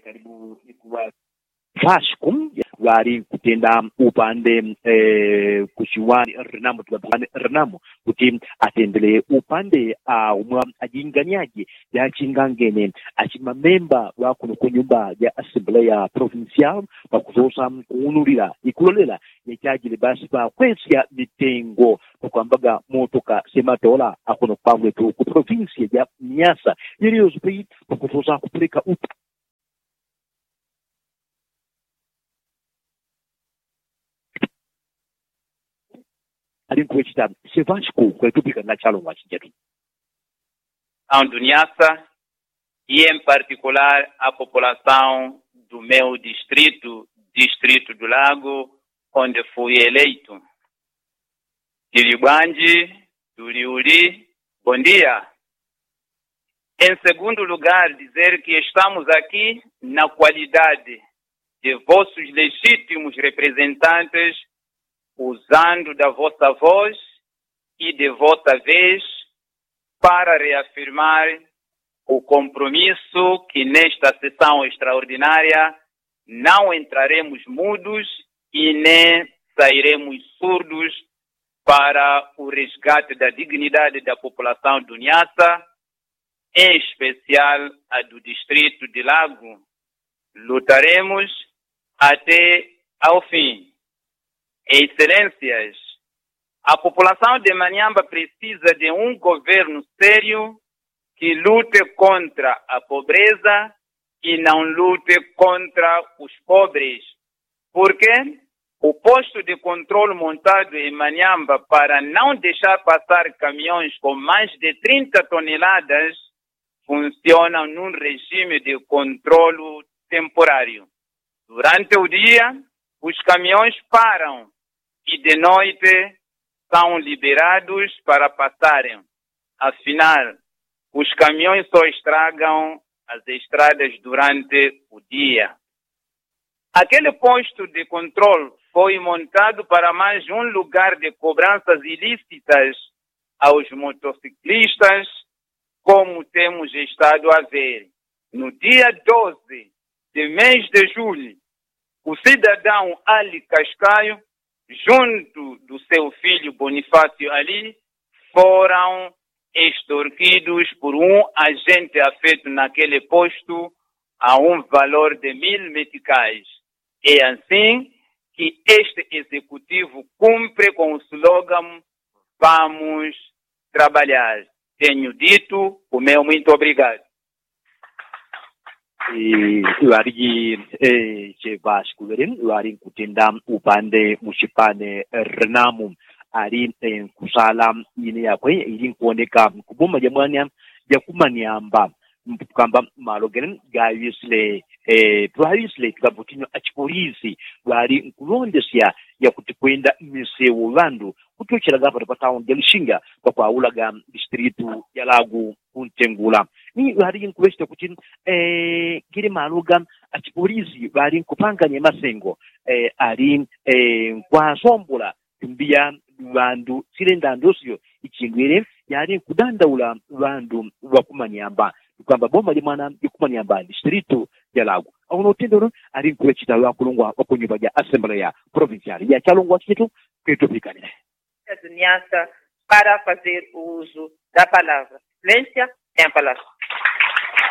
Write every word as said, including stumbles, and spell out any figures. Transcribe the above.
Kalibu ikuwa. Vashiku ŵali nkutenda upande kuchiwani rinamu tuŵatukani rinamu kuti atendele upande aumwa ajinganyaji jachingangene achimamemba ŵakuno kunyumba ja asembleya provincial pakusosa kuunulila ikulolela yachajile basi pakwesya mitengo pakwambaga motoka sematola akuno kwagwetu ku provinsiya ja nyasa yeliyosi pai pakusosa kupulika upa. Alinkuŵechita sevashiku kwetupika nachalo ngwachinjetu. Aunduniasa, e em particular a população do meu distrito, distrito do lago, onde fui eleito. Tili bwanji? Tuli uli? Bondia. Em segundo lugar dizer que estamos aqui na qualidade de vossos legítimos representantes, usando da vossa voz e de vossa vez para reafirmar o compromisso que nesta sessão extraordinária não entraremos mudos e nem sairemos surdos para o resgate da dignidade da população do Niassa, em especial a do distrito de Lago. Lutaremos até ao fim. Excelências, a população de Maniamba precisa de um governo sério que lute contra a pobreza e não lute contra os pobres. Porque o posto de controle montado em Maniamba para não deixar passar caminhões com mais de trinta toneladas funciona num regime de controle temporário. Durante o dia, os caminhões param e de noite são liberados para passarem. Afinal, os caminhões só estragam as estradas durante o dia. Aquele posto de controle foi montado para mais um lugar de cobranças ilícitas aos motociclistas, como temos estado a ver. No dia doze de mês de julho, o cidadão Ali Cascaio, junto do seu filho Bonifácio Ali, foram extorquidos por um agente afeto naquele posto a um valor de mil meticais. É assim que este executivo cumpre com o slogan Vamos trabalhar. Tenho dito o meu muito obrigado. Ŵaliji chevashiku ŵele ŵali nkutenda upande muchipane rinamu ali nkusala ine yakwe ili nkuoneka kuboma jamwanya jakumaniamba. Kamba malo gene gaŵisile twaŵisile tukavutinyo achipolisi ŵali nkulondesya yakuti kwenda mmisewo ŵandu kutyochelaga pano pa tauni ja lishinga pakwaulaga distritu ja lagu kuntengula. Ni ŵaliji nkuŵecheta kuti gele malo ga achipolisi ŵali nkupanganya masengo ali nkwasombola tumbiya ŵandu sile ndandosyo ichindwile yali nkudandaula ŵandu ŵakumanyamba. Kwamba boma limwana likumanyamba distritu ja lagu auno utendolo ali nkuŵecheta ŵakulungwa ŵakunyumba ja asembleya provinciali yachalungwa chichetu. Kwitupikanile. Duniasa para fazer uzu da palavra. Silencia. Tem a palavra.